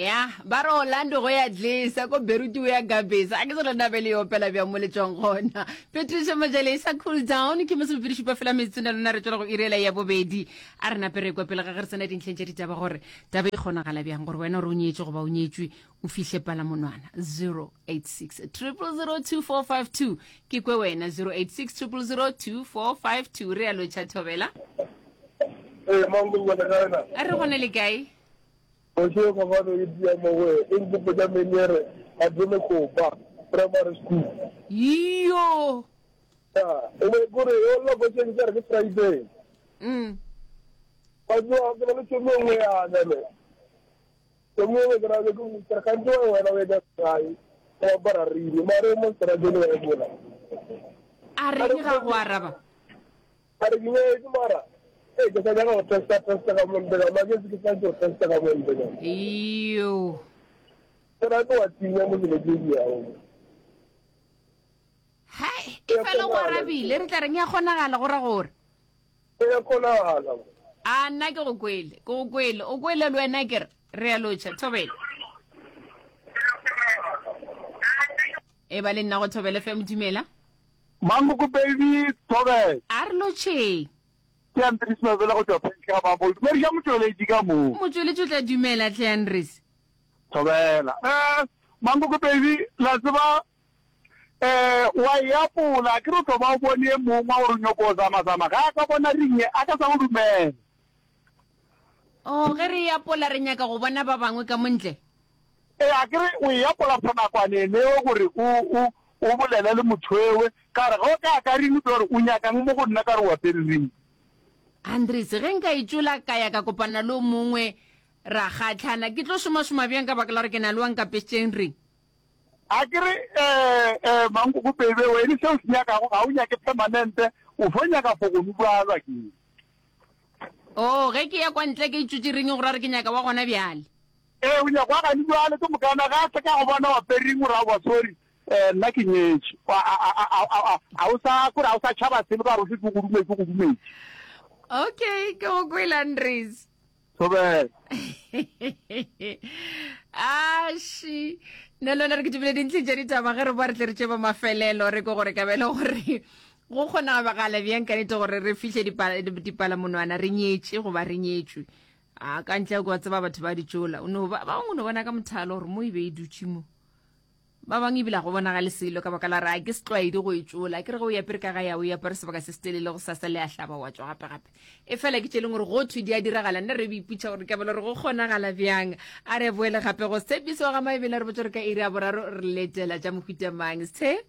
Ya, ba re Orlando go ya dlesa, ko Beirut o ya gabesa. A ke se lena be le opela bjang mo le tšwang gona. Patricia Majele sa cool down ke masomepedi šupa fela metsotso na lona re tšwela go irela ya bobedi. A re nape re kwe pele ga ge re tsena dintlheng tša ditaba gore taba e kgonagala bjang gore wena gore o nyetše goba o nyetšwe o fihle palamonwana 086 0002452 ke kwe wena 086 0002452 re a lotšha thobela. Ee, mango le kae na? A re gone le kae? Moshe Fapano e tia mo go e nkgopotša Menyere a thome Kopa Primary School. Iyo! Ya, e be kore o lla košeng ke re ke Friday. Mm. Ba tsoa ke ba le tšhomi e nngwe yana ne. Tšhomi e nngwe ke ra ke mo ke re gantsi wa wena o e ka gae o apara rini mare o mo strateng wa e bola. A reng ga go araba? A re ke nyetše mara ee ke sa nyaka go testa testa ka montle ka maketse ke sa go testa ka montle ka. Iyo. Ke ra ke wa tinya mo dilo tse di yago. Hai, e fela go arabile re tla reng ya kgonagala go ra gore. E ya kgonagala. A nna ke go kwele, ke go kwele, o kwele le wena ke re re ya lotšha thobela. E ba le nna go thobele FM dumela. Mankoko baby Thobela. A re lotšheng. Ke Andries Mabele go tšwa Phentlha ga Mabolo. Dumediša motšweletši ka moo. Motšweletši o tla dumela hle Andries. Thobela. Eh, Mankoko baby, la tseba eh wa e apola, akere o tlo ba o bone e mongwe wa gore o nyoko o zama-zama, ga a ka bona ring a ka sa go dumela. Oh, ge re e apola re nyaka go bona ba bangwe ka mo ntle? Ee, akere o e apola for nakwana eneo gore o, o, O bolele le motho ewe, ka re, Ge o ka ka ring, o tlo re, O nyakang mo go nna? Ka re, O apere ring? Andries, Ge nka e tšola ka ya ka kopana le o mongwe ra kgahlana, ke tlo šomašoma bjang ka baka la gore ke na le wa nkapešitšeng ring? A ke re, Eh, eh, Mankoko Bebe, wene se o se nyakago ga o nyake permanente, o fo nyaka for go nubalwa ke. Oh, ge ke ya kwa ntle ke itšotše ring go ra gore ke nyaka wa gona bjale. Ee, o nyaka wa gane bjale, ke mokana ge a se ka go bona o apere ring o re aowa sorry, Eh, nna ke nyetše. A, a, a, a, a, a, a o sa, kore a o sa tšhaba selo ka gore o šetše o go dumetše, o go dumetše. Okay, ke go kwele Andries. Thobela. Ashi. Nna le wena re kitimile dintlheng tša ditaba ge re boa re tle re tše ba mafelelo re ko gore kabelo gore go kgonagala bjang ka nete gore re fihle dipalamonwana re nyetše goba re nyetšwe. A ka ntle o tseba batho ba ditšola o no ba bangwe o no bona ka mothalo gore mo e be e dutše mo. Ba bangwe ebile ga go bonagale selo ka baka la re a ke setlwaedi go e tšola. Ke re ge o yapere ka gae a o e apare sebaka se setelele go sasa le a hlaba wa tšwa gape gape. E fela ke tše leng gore go thwe di a diragala nna re iputša gore ka belo re go kgonagala bjang. A re boele gape go Tshepiso wa ga Maebele re botse gore ka iri ya boraro re letela tša mohuta mang. Sthe.